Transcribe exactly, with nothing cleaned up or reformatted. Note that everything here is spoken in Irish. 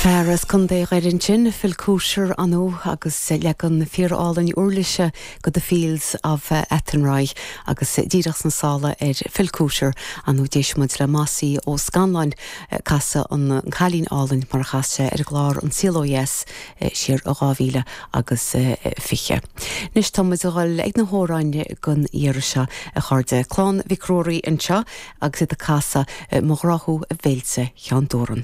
Fear as Contae Dhoire ansin Phil Cusher anú agus leagan fíorálainn uirlise go The Fields of Athenry agus díreach sna sála ar Phil Cusher anú d'éist muid le Mossie Ó Scanláin casadh an Cailín Álainn mar a chas sé ar an gclár An Saol Ó Dheas siar i dhá mhíle agus fiche. Anois tá muid ag dul ag na hamhráin don iarraidh seo a chairde Clann Mhic Ruairí anseo agus iad ag casadh Mo Ghrá Thú a Bhéilse Cheann Dúran.